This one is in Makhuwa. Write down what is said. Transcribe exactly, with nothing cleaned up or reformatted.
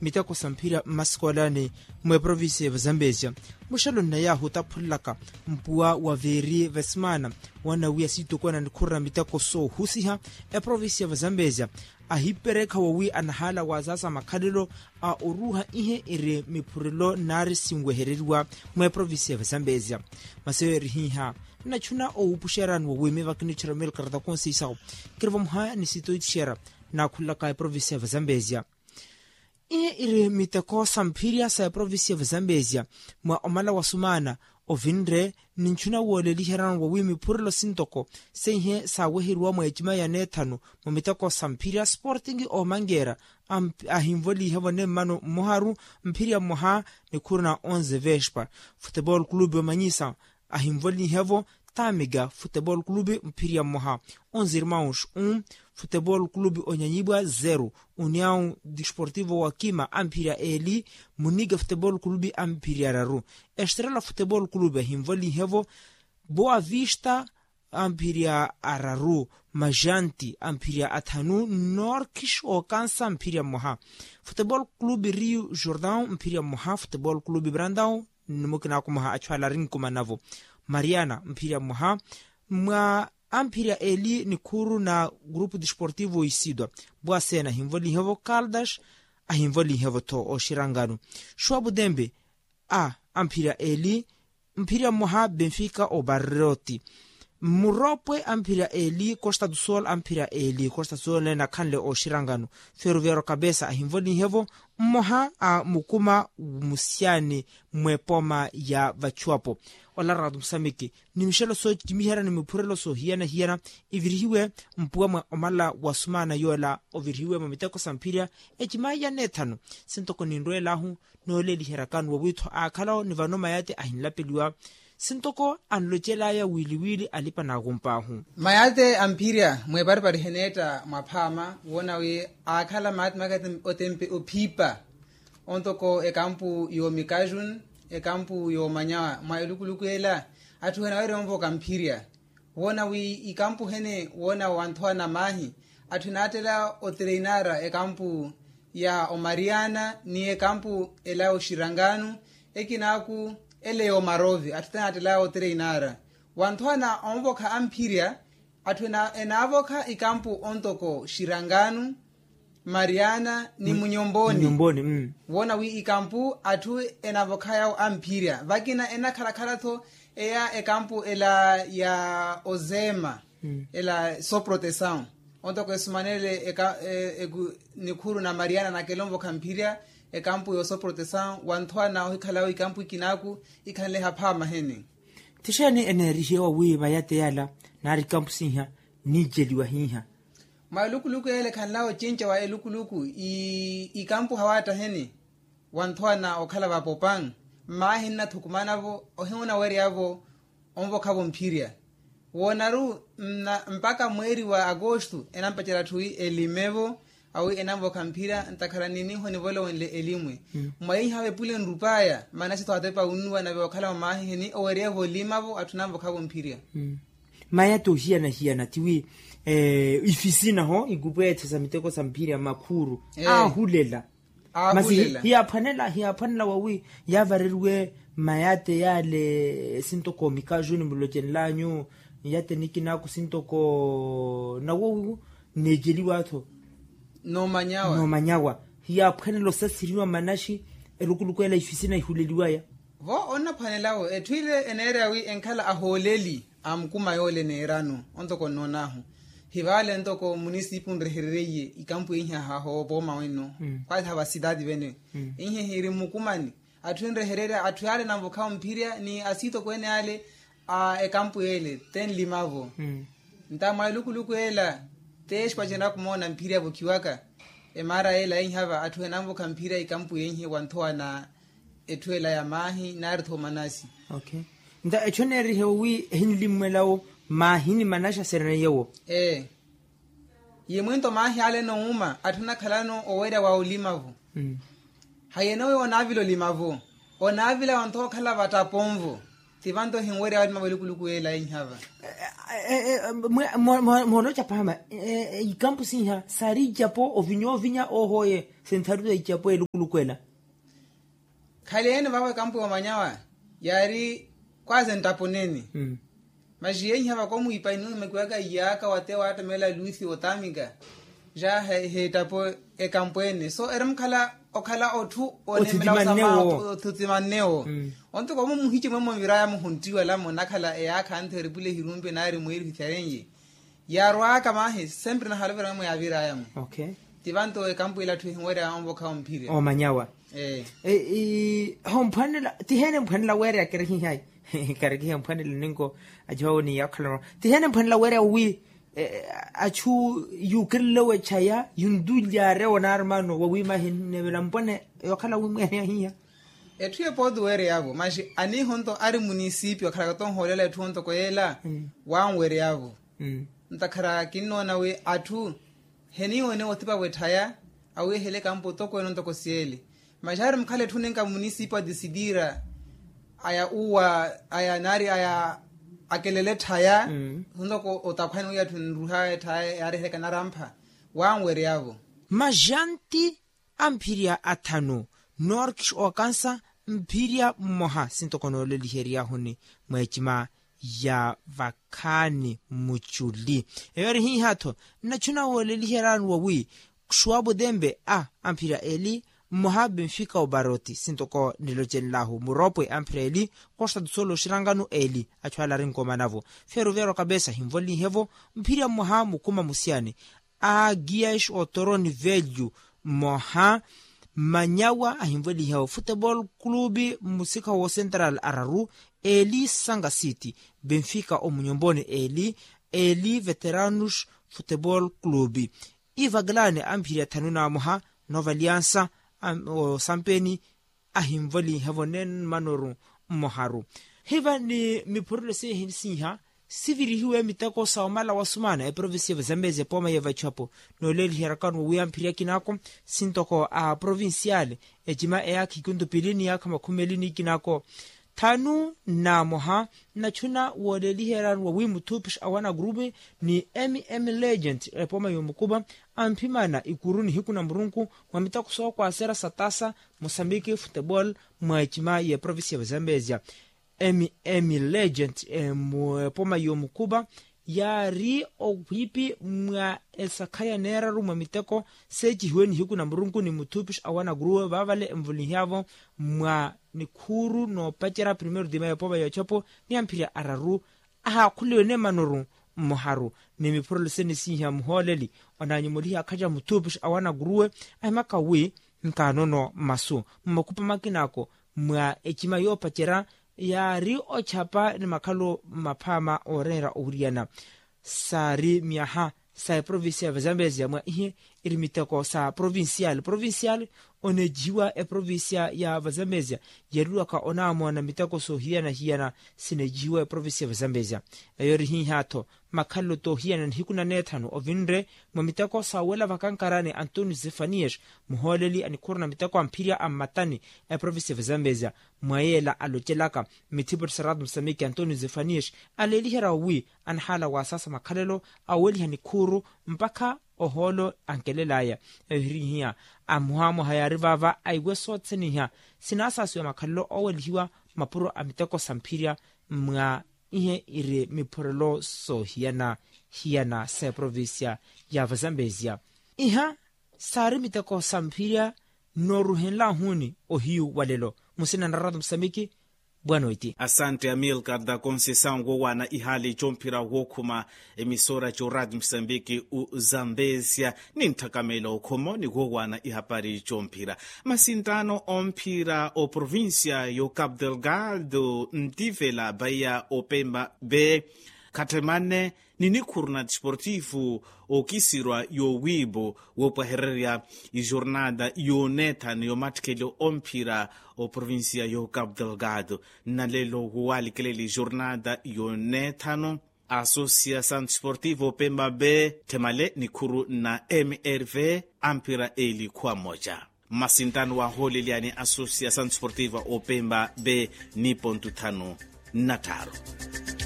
miteko sa mphira mmasikolaani mwa eprovincia ya vazambezia. Muxelo nnayahu taphulelaka mpuwa wa veeri vesimaana woona wi asiitokwana nikhurira miteko soohusiha eprovincia ya vazambezia ahiperekha wowi anahaala waazaasa makhalelo a oruuha ihe iri miphurelo nari sinwehereriwa mwa eprovincia ya vazambezia. Masi eyo eri hiiha nnachuna owuupuxerani wowi miyo vakinitxera mil karata konsiisawo kiri vamuha ni sitoitxera naakhulelaka eprovincia ya vazambezia. Ihe iri miteko sa mphirya sa eprovincia ya vazambezia mwa omala wa sumaana ovinre ni ntxuna wooleliherano wowi miphurelo sintoko seihe saaweheriwa mwa ecima ya neethanu mwa miteko sa mphirya sporting omangeera ahinvolihevo nemmano mmoharu mphirya mmoha nikhuru na onze vespa. Futebol clube omanyisa ahinvolihevo tamiga futebol clube mphirya mmoha onze irmaus un futebol clube onyanyibwa zero uniau disportivo wa kima amphirya eli muniga futebol clube amphirya araru estrela futebol clube ahinvolihevo boa vista amphirya araru majanti amphirya athanu norkis okansa mphirya mmoha futebol clube rio jordan mphirya mmoha futebol clube brandao nnimukina akumaha achu ala rinkumanavo mariana mphirya mmoha mwa amphirya eli nikhuru na grupu disportivo isidwa bwasena ahinvolihevo kaldas ahinvolihevo tho oxirangano xuwa butembe a amphirya eli mphirya mmoha benfica obarroti mmuropwe amphirya eli costa do sol amphirya eli costa do sol ene akhanle oxirangano feruvero kabesa ahinvolihevo mmoha a mukuma musiyani mw'epoma ya vachuwapo olaraka tumusamiki ni mixelo soocimiherya ni miphurelo soohiyana-hiyana ivirihiwe mpuwa mwa omala wa sumaana yoola ovirihiwe mwa miteko sa mphirya ecimaiya n'ethanu sintoko ninrweel'ahu nooleliheryakani wowiitho aakhalawo ni vano mayate ahinlapeliwa sintoko anlocel'aya wiili-wiili alipa naakump'ahu mayate amphirya mweparipari heneetta mwaphaama woona wi aakhala maati makati otempe ophiipa ontoko ekampu y'omikajun ekampu y'omanyawa mwa elukuluku ela atthu enawerya onvoka mphirya woona wi ikampu hene woona wanthowa na maahi atthu enaattela otereinara ekampu ya omariana ni ekampu ela ya oxiranganu ekinaaku ele y'omarovi atthu tenaattela otereinara wanthowa na onvokha amphirya atthu enaavokha ikampu ontoko xiranganu mariana ni munyomboni woona wi ikampu atthu enavokhayawo amphirya vakina enakhalakhala-tho eya ekampu ela ya ozema ela soprotesaw ontoko esumanele nikhuru na mariana nakela onvokha mphirya ekampu ya osoprotesaw wanthowa na ohikhala-wo ikampu ikinaaku ikhanle haphaama hene tixeeni eneerihiwa wi mayate yala naari kampusiha niiceliwa hiiha mwa elukuluku ele khanlawa ocinca wa elukuluku ikampu hawaattaheni wanthowa na okhala vapopan mmaahi nnathukumanavo ohiwunaweryavo onvokhavo mphirya woonaru mpakha mweeri wa akostu enampacerya atthu wi elimevo awi enanvokha mphira ntakhala niniho nivolowenle elimwe mwayiha vepule nrupaya manasi tho atepa wunnuwa nave okhala mamaahiheni owerya volimavo atthu nanvokhavo mphirya maya toohiyana-hiyana tiwi ifisina ho ikupweethe sa miteko sa mphirya makhuru aahulela masi hiyaaphwanela hiyaaphwanela wawi yaavareriwe mayate yale sintoko mikaju nimulocenlanyu yate nikinaku sintoko nawowiwu nneeceliwa-tho noomanyawa hiyaaphwanela osasiriwa manaxi elukuluku ela ifisina ihuleliwaya vo onnaphwanelawo etthu ile eneereya wi enkhala ahooleli a mukuma yoole neerano ontoko nnoon'ahu hivale ntoko munisipu nreherereiye ikampu ihiha hoopooma wenno khwali hava sitaati vene ihiha iri mmukumani atthu enrehererya atthu yaale enanvokhawo mphirya ni asiitokweene ale a ekampu ele tenlimavo nta mwa elukuluku ela te expacenaka omoona mphirya avokhiwaka emaara ela eihava atthu enanvokha mphirya ikampu yeihe wanthowa na etthu ela ya maahi naari-tho manasi nta etthu eneerihewo wi ehinlimmwelawo maahi ni manasi asereneyewo ee yimwinto maahi ale enowuma atthu enakhalano owerya wa olimavo hayenowe onaavila olimavo onaavila wanthowa okhala vattaponvo Tivanto hinwerya wari mawelukuluku ela inhava. Mooloca pahama ikampu sinha sari icapo ovinya ovinya ohoye sentharu za icapo elukuluku ela. Khaleene vavo ekampu yomanyawa yari kwaze ntaponeni. Maxi yenhava komwipa inumekiwaka iyaka wate waattamela luthi otamika ja heettapo ekampu ene so eri mukhala okhala otthu onemela othutimannewo. Onto komu muhici mwemwe viraya muhuntiwala munakhala eyaakha anthu eripule hirumpe nari mweeri hutharenye. Yaarwaka mahi sempre nahalovera mwemwe yaviraya mu. Tivanto ekampu ila atthu ehinwerya onvokha omphirya omanyawa. Homphwanela tihene mphwanela weerya kerekihayi. Kerekihe mphwanela ninko acihawo ni yaakhalano tihene mphwanela weerya wi achu yuukerelewe chaya yundulyare onarmano wawima hinnevela mpwane yookhala wimweene ahiya. Etthu epooti weereyavo maxi aniihonto ari munisipi okhalaka tonhoolela etthu ontoko yeela wanweereyavo. Ntakhara kinnoona wi atthu heniiwene othipa wetthaya awiihele ekampu otokweene ontoko siyeele. Maxi ari mukhala etthu ninka munisipi wa disitira aya uwa aya nari aya akelele etthaya. Sontoko otakhwani wi atthu nruha etthaya yaarihereka narampha wanweeryavo. Maxanti amphirya athanu norkis okansa mphirya mmoha sintoko nooleliheryahuni mwa ecima ya vakhaani mmuculi. Eyo eri hiiha-tho nnachuna wooleliheryani wawi ksuwapo tempe a amphirya eli mmoha benfika oparoti sintoko nilocenlahu muropwe amphirya eli. Kosta tusolo oxirankano eli achu ala arinkomanavo feruveero kapesa hinvolihevo mphirya mmoha mukuma musiyani a gias otoroni velyu mmoha manyawa ahinvolihevo futebol klubi mmusikha wo central araru eli sanka city benfika omunyomponi eli eli veteranos futebol klubi. Ivaklani amphirya thanu na mmoha nova aliansa osampeni ahinvolihevo nemmanoru mmoharu. Hiva ni miphurelo seihi siiha sivirihiwe miteko sa omala wa sumana eprovincia ya vazambezi epooma ya vachapo nooleliheryakano wowiya mphirya kinako sintoko a provincial ecima eyaakha ikuntu pili ni yaakha makhumi eli ni kinako thanu na mmoha. Nnachuna wooleliheryani wawi muthupish awana grupe ni mm legend epooma y'omukupa amphimana ikuru nihiku na murunku mwa miteko sookwasera sa tasa musambiki futebol mwa ecima y'eprovincia ya vazambezia. Mm legend mu epoma y'omukupa yaari owiipi mwa esakha ya neeraru mwa miteko seecihiwe nihiku na murunku ni muthupish awana gruwe vaavale envolihiavo mwa nikhuuru noopacerya primeiro tima y'epoma y'ochapo ni amphirya araru ahaakhuliwe neemanoru mmoharu ni miphurelo sene siiha muhooleli. Onaanyumuliha akhaca muthupish awana gruwe ahimaka wi nkaanono masu mmakupa makina ako mwa ecima yoopacerya yaari ochapa ni makhalu maphaama ooreera owiriyana. Saari myaha sa eprovincia ya vazambezia mwa ihe iri miteko sa provincial provincial oneecihiwa eprovincia ya vazambezia yeeriwaka onaamoona miteko soohiyana-hiyana sineecihiwa eprovincia ya vazambezia. Eyo eri hiiha-tho makhalelo toohiyana nihiku na neethanu ovinre mwa miteko sa wela vakankarani antonio zefanias muhooleli a nikhuuru na miteko a mphirya a mmatani a eprovincia ya vazambezia mwa yeela alocelaka mithipuri sa rato musamiki antonio zefanias aleeliherya wi anahaala waasasa makhalelo aweliha nikhuuru mpakha ohoolo ankelelaya. Eyo hirihiya amuhamuha yaari vaava aiwe soothene iha sinaasasiwa makhalelo oowelihiwa mapuro a miteko sa mphirya mwa ihe iri miphurelo soohiyana-hiyana sa eprovincia ya vazambezia. Iha saari miteko sa mphirya nooruhenlahuni ohiyu wa lelo musina na rato musamiki. Bwano iti asantte amilcar da conceição woowaana ihaali comphira wookhuma emisora co radio musambiki u zambezia ni ntthakamela okhoma ni woowaana ihapari comphira masinttaano omphira o provincia yo cap delgado ntivela baiya opemba be khattemane ni nikhuru na desportivo okisirwa yowiipo woopwahererya ijornada yoneethano yomattikheli omphira oprovincia yo cap delgado nnalelo woowaalikeleli ijornada yoneethano asosiasawn desportivo opemba be tthemale nikhuru na mrv amphira eli khuwa mmoja mmasinttaano waahoolelyani asosiasawn desportivo opemba be ni pontu tthanu. nnatthaaru.